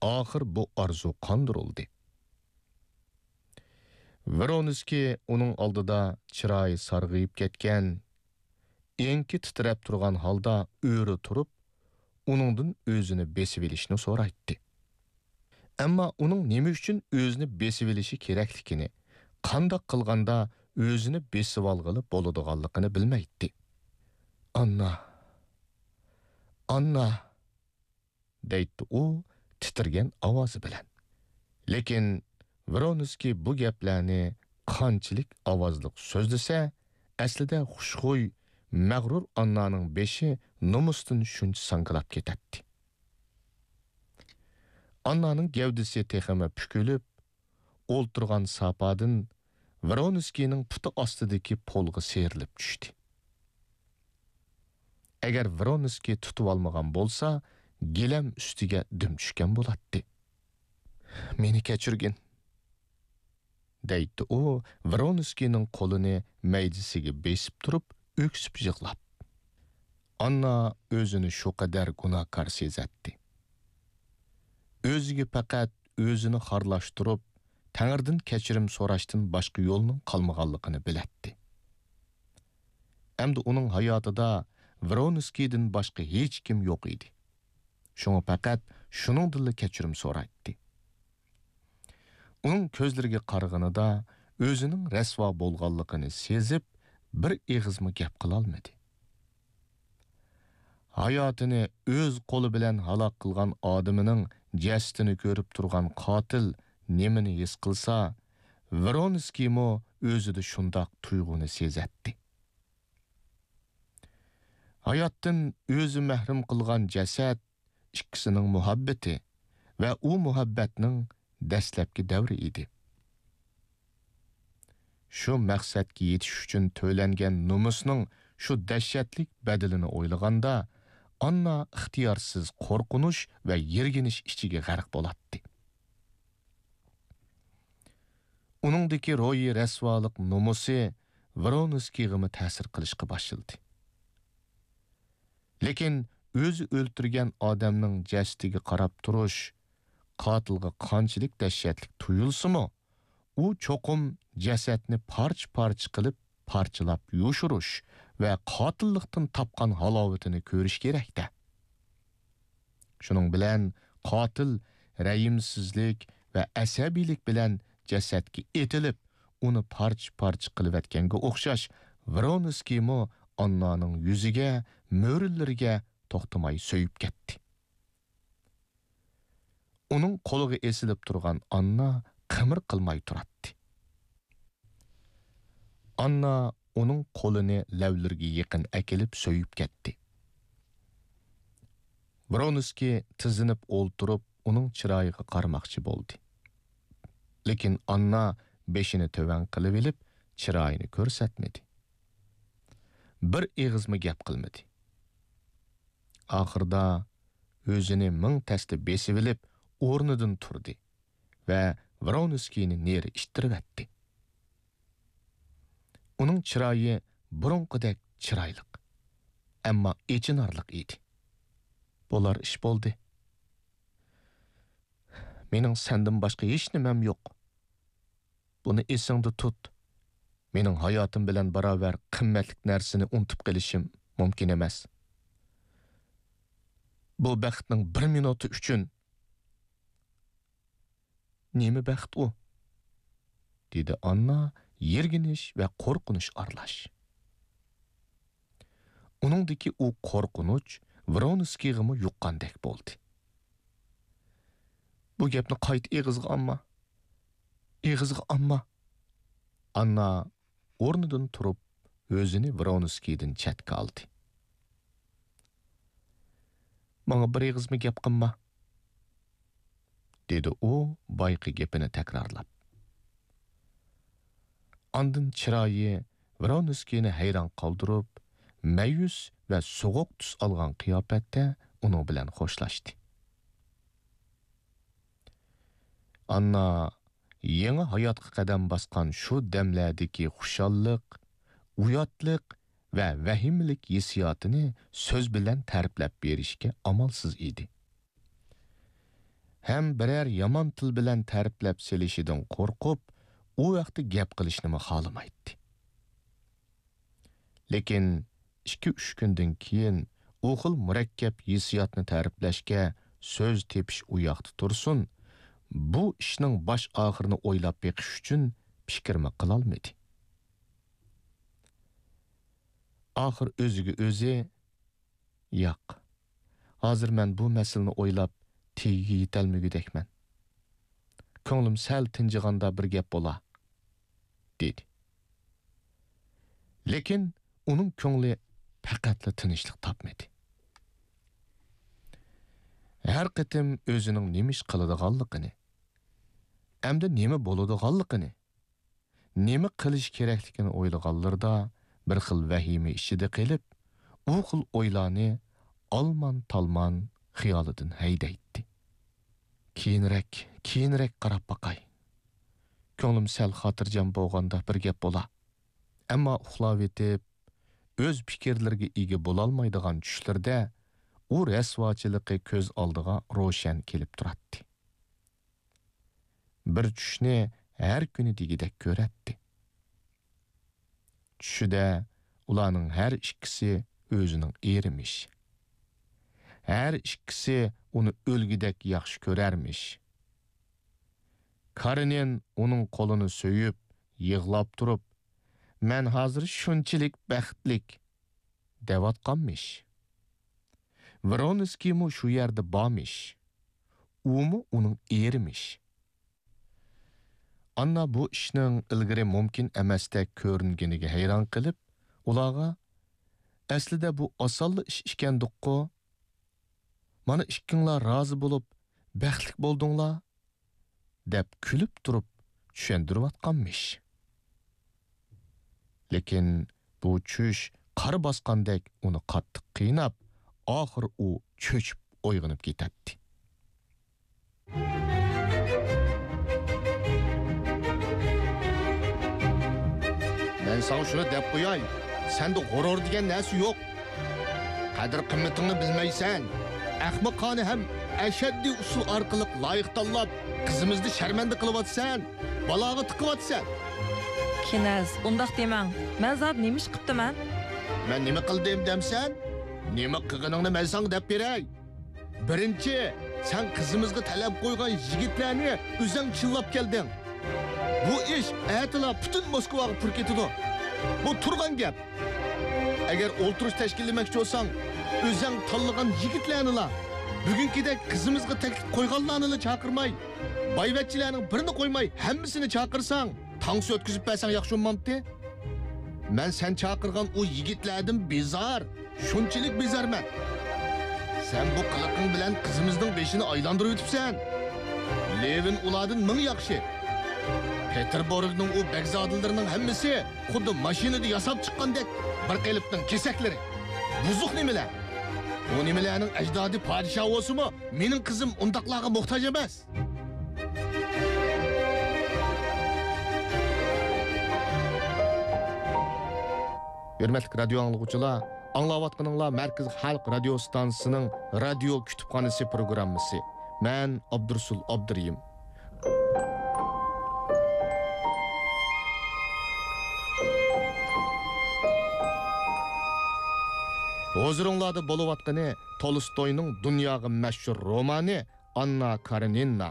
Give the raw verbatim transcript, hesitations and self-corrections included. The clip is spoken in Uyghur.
ئاخىر بۇ ئارزۇ قاندۇرۇلدى. ۋرونسكىي ئۇنىڭ ئالدىدا چىرايى سارغىيىپ كەتكەن، ئېڭىكى تىترەپ تۇرغان ھالدا ئۆرە تۇرۇپ، ئۇنىڭدىن ئۆزىنى بېسىۋېلىشنى سورايتتى. ئەمما ئۇنىڭ نېمە ئۈچۈن ئۆزىنى بېسىۋېلىشى كېرەكلىكىنى، قانداق قىلغاندا ئۆزىنى بېسىۋالغىلى بولىدىغانلىقىنى بىلمەيتتى. «ئاننا، ئاننا!» دەيتتى ئۇ تىترىگەن ئاۋازى بىلەن. لېكىن ۋرونسكىي بۇ گەپلەرنى قانچىلىك ئاۋازلىق سۆزلىسە، ئەسلىدە خۇشخۇي، مەغرۇر ئاننانىڭ بېشى نومۇستىن شۇنچە ساڭگىلاپ كېتەتتى. ئاننانىڭ گەۋدىسى تېخىمۇ پۈكۈلۈپ، ئولتۇرغان ساپادىن ۋرونسكىينىڭ پۇتى ئاستىدىكى پولغا سىيرىلىپ چۈشتى. ئەگەر ۋرونسكىي تۇتۇۋالمىغان بولسا، گىلەم ئۈستىگە دۈم چۈشكەن بولاتتى. «مېنى كەچۈرگىن!» دەيتتى ئۇ، ۋرونسكىينىڭ قولىنى مەيدىسىگە بېسىپ تۇرۇپ، ئۆكسۈپ يىغلاپ. ئاننا ئۆزىنى شۇ قەدەر گۇناھكار سېزەتتى. ئۆزىگە پەقەت ئۆزىنى خارلاشتۇرۇپ، تەڭرىدىن كەچۈرۈم سوراشتىن باشقا يولنىڭ قالمىغانلىقىنى بىلەتتى. ئەمدى ئۇنىڭ ھاياتىدا ۋرونسكىيدىن باشقا ھېچكىم يوق ئىدى. شۇڭا پەقەت شۇنىڭدىنلا كەچۈرۈم سورايتتى. ئۇنىڭ كۆزلىرىگە قارىغىنىدا ئۆزىنىڭ رەسۋا بولغانلىقىنى سېزىپ، بىر ئېغىزمۇ گەپ قىلالمىدى. ھاياتىنى ئۆز قولى بىلەن ھالاك قىلغان ئادىمىنىڭ جەسىتىنى كۆرۈپ تۇرغان قاتىل نېمىنى ھېس قىلسا، ۋرونسكىيمۇ ئۆزىدە شۇنداق تۇيغۇنى سېزەتتى. ھاياتتىن ئۆزى مەھرۇم قىلغان جەسەت ئىككىسىنىڭ مۇھەببىتى ۋە ئۇ مۇھەببەتنىڭ دەسلەپكى دەۋرى ئىدى. شۇ مەقسەتكە يېتىش ئۈچۈن تۆلەنگەن نومۇسنىڭ شۇ دەھشەتلىك بەدىلىنى ئويلىغاندا، ئاننا ئىختىيارسىز قورقۇنچ ۋە يىرگىنچ ئىچىگە غەرق بولاتتى. ئۇنىڭدىكى روھىي رەسۋالىق نومۇسى ۋرونسكىيغىمۇ تەسىر قىلىشقا باشلىدى. لېكىن ئۆزى ئۆلتۈرگەن ئادەمنىڭ جەسىتىگە قاراپ تۇرۇش قاتىلغا قانچىلىك دەھشەتلىك تۇيۇلسىمۇ، ئۇ چوقۇم جەسەتنى پارچە-پارچە قىلىپ، پارچىلاپ يوشۇرۇش ۋە قاتىللىقتىن تاپقان ھالاۋىتىنى كۆرۈش كېرەك-دە. شۇنىڭ بىلەن قاتىل رەھىمسىزلىك ۋە ئەسەبىيلىك بىلەن جەسەتكە ئېتىلىپ، ئۇنى پارچە-پارچە قىلىۋەتكەنگە ئوخشاش، ۋرونسكىيمۇ ئاننانىڭ يۈزىگە، مۈرىلىرىگە توختىماي سۆيۈپ كەتتى. ئۇنىڭ قولىغا ئېسىلىپ تۇرغان ئاننا قىمىر قىلماي تۇراتتى. ئاننا ئۇنىڭ قولىنى لەۋلىرىگە يېقىن ئەكېلىپ سۆيۈپ كەتتى. ۋرونسكىي تىزلىنىپ ئولتۇرۇپ، ئۇنىڭ چىرايىغا قارىماقچى بولدى. لېكىن ئاننا بېشىنى تۆۋەن قىلىۋېلىپ، چىرايىنى كۆرسەتمىدى. بىر ئېغىزمۇ گەپ قىلمىدى. ئاخىرىدا ئۆزىنى مىڭ تەستە بېسىۋېلىپ، ئورنىدىن تۇردى ۋە ۋرونسكىينى نېرى ئىتتىرىۋەتتى. ئۇنىڭ چىرايى بۇرۇنقىدەك چىرايلىق، ئەمما ئېچىنارلىق ئىدى. بولار ئىش بولدى. مېنىڭ سەندىن باشقا ھېچنېمەم يوق. بۇنى ئېسىڭدە تۇت. مېنىڭ ھاياتىم بىلەن باراۋەر قىممەتلىك نەرسىنى ئۇنتۇپ قېلىشىم مۇمكىن ئەمەس. بۇ بەختنىڭ بىر مىنۇتى ئۈچۈن. نېمە بەخت ئۇ؟ دېدى ئاننا يىرگىنىش ۋە قورقۇنچ ئارىلاش. ئۇنىڭدىكى ئۇ قورقۇنچ ۋرونسكىيغىمۇ يۇققاندەك بولدى. بۇ گەپنى قايتا ئېغىزغا ئالما. ئېغىزغا ئالما. ئاننا ئورنىدىن تۇرۇپ، ئۆزىنى ۋرونسكىيدىن چەتكە ئالدى. ماڭا بىر ئېغىزمۇ گەپ قىلما، دېدى ئۇ بايىقى گېپىنى تەكرارلاپ. ئاندىن چىرايى ۋرونسكىينى ھەيران قالدۇرۇپ، مەيۈس ۋە سوغۇق تۈس ئالغان قىياپەتتە ئۇنىڭ بىلەن خوشلاشتى. ئاننا يېڭى ھاياتقا قەدەم باسقان شۇ دەملەردىكى خۇشاللىق، ئۇياتلىق ۋە ۋەھىمىلىك ھېسسىياتىنى سۆز بىلەن تەرىپلەپ بېرىشكە ئامالسىز ئىدى. ھەم بىرەر يامان تىل بىلەن تەرىپلەپ سېلىشىدىن قورقۇپ، ئۇ ھەقتە گەپ قىلىشنىمۇ خالىمايتتى. لېكىن ئىككى-ئۈچ كۈندىن كېيىن ئۇ خىل مۇرەككەپ ھېسسىياتنى تەرىپلەشكە سۆز تېپىش ئۇ ياقتا تۇرسۇن، بۇ ئىشنىڭ باش-ئاخىرىنى ئويلاپ بېقىش ئۈچۈن پىكىرمۇ قىلالمىدى. ئاخىر ئۆزىگە ئۆزى، ياق، ھازىر مەن بۇ مەسىلىنى ئويلاپ تېگىگە يېتەلمىگۈدەكمەن. كۆڭلۈم سەل تىنجىغاندا بىر گەپ بولا، دېدى. لېكىن ئۇنىڭ كۆڭلى پەقەتلا تىنچلىق تاپمىدى. ھەر قېتىم ئۆزىنىڭ نېمە ئىش قىلىدىغانلىقىنى، ئەمدى نېمە بولىدىغانلىقىنى، نېمە قىلىش كېرەكلىكىنى ئويلىغانلىرىدا بىر خىل ۋەھىمە ئىچىدە قېلىپ، ئۇ خىل ئويلارنى ئالمان-تالمان خىيالىدىن ھەيدەيتتى. كېيىنرەك، كېيىنرەك قاراپ باقاي. كۆڭلۈم سەل خاتىرجەم بولغاندا بىر گەپ بولا. ئەمما ئۇخلاۋېتىپ، ئۆز پىكىرلىرىگە ئىگە بولالمايدىغان چۈشلىرىدە ئۇ رەسۋاچىلىقى كۆز ئالدىغا روشەن كېلىپ تۇراتتى. بىر چۈشنى ھەر كۈنى دېگۈدەك كۆرەتتى. چۈشىدە ئۇلارنىڭ ھەر ئىككىسى ئۆزىنىڭ ئېرىمىش. ھەر ئىككىسى ئۇنى ئۆلگۈدەك ياخشى كۆرەرمىش. كارېنىن ئۇنىڭ قولىنى سۆيۈپ، يىغلاپ تۇرۇپ، «مەن ھازىر شۇنچىلىك بەختلىك» دەۋاتقانمىش. ۋرونسكىيمۇ شۇ يەردە بارمىش. ئۇمۇ ئۇنىڭ ئېرىمىش. ئاننا بۇ ئىشنىڭ ئىلگىرى مۇمكىن ئەمەستەك كۆرۈنگىنىگە ھەيران قېلىپ، ئۇلارغا، «ئەسلىدە بۇ ئاسانلا ئىش ئىكەندۇققۇ؟ مانا ئىككىڭلار رازى بولۇپ، بەختلىك بولدۇڭلار» دەپ كۈلۈپ تۇرۇپ چۈشەندۈرۈۋاتقانمىش. لېكىن بۇ چۈش قار باسقاندەك ئۇنى قاتتىق قىيناپ، ئاخىر ئۇ چۆچۈپ ئويغىنىپ كېتەتتى. مەن ساڭا شۇنى دەپ قوياي، سەندە غۇرۇر دېگەن نەرسە يوق. قەدىر-قىممىتىڭنى بىلمەيسەن. ئەخمىقانە ھەم ئەشەددىي ئۇسۇل ئارقىلىق لايىق تاللاپ، قىزىمىزنى شەرمەندە قىلىۋاتىسەن، بالاغا تىقىۋاتىسەن. كىنەز، ئۇنداق دېمەڭ. مەن زادى نېمە ئىش قىپتىمەن؟ مەن نېمە قىلدىم دەمسەن؟ نېمە قىلغىنىڭنى مەن ساڭا دەپ بېرەي. بىرىنچى، سەن قىزىمىزغا تەلەپ قويغان يىگىتلەرنى ئۆزەڭ چىللاپ كەلدىڭ. بۇ ئىش ئەتىلا پۈتۈن موسكۋاغا پۇر كېتىدۇ. بۇ تۇرغان گەپ. ئەگەر ئولتۇرۇش تەشكىللىمەكچى بولساڭ، ئۆزەڭ تاللىغان يىگىتلەرنىلا، بۈگۈنكىدەك قىزىمىزغا تەكلىپ قويغانلارنىلا چاقىرماي، بايۋەچچىلەرنىڭ بىرىنى قويماي، ھەممىسىنى چاقىرساڭ، تانسا ئۆتكۈزۈپ بەرسەڭ ياخشى بولمامتى؟ مەن سەن چاقىرغان ئۇ يىگىتلەردىن بىزار، شۇنچىلىك بىزارمەن. سەن بۇ قىلىقىڭ بىلەن قىزىمىزنىڭ بېشىنى ئايلاندۇرۇۋېتىپسەن. لېۋىن ئۇلاردىن مىڭ ياخشى. پېتېربۇرگنىڭ ئۇ بەگزادىلىرىنىڭ ھەممىسى خۇددى ماشىنىدا ياساپ چىققاندەك بىر قېلىپنىڭ كېسەكلىرى. بۇزۇق نېمىلەر. ئۇ نېمىلەرنىڭ ئەجدادى پادىشاھ بولسىمۇ، مېنىڭ قىزىم ئۇنداقلارغا موھتاج ئەمەس. ھۆرمەتلىك رادىيو ئاڭلىغۇچىلار، ئاڭلاۋاتقىنىڭلار مەركىزىي خەلق رادىيو ستانسىسىنىڭ رادىيو كۇتۇپخانىسى پروگراممىسى. مەن ئابدۇرۇسۇل ئابدۇرېھىم. ھۇزۇرۇڭلاردا بولۇۋاتقىنى تولستوينىڭ دۇنياغا مەشھۇر رومانى ئاننا كارېنىنا.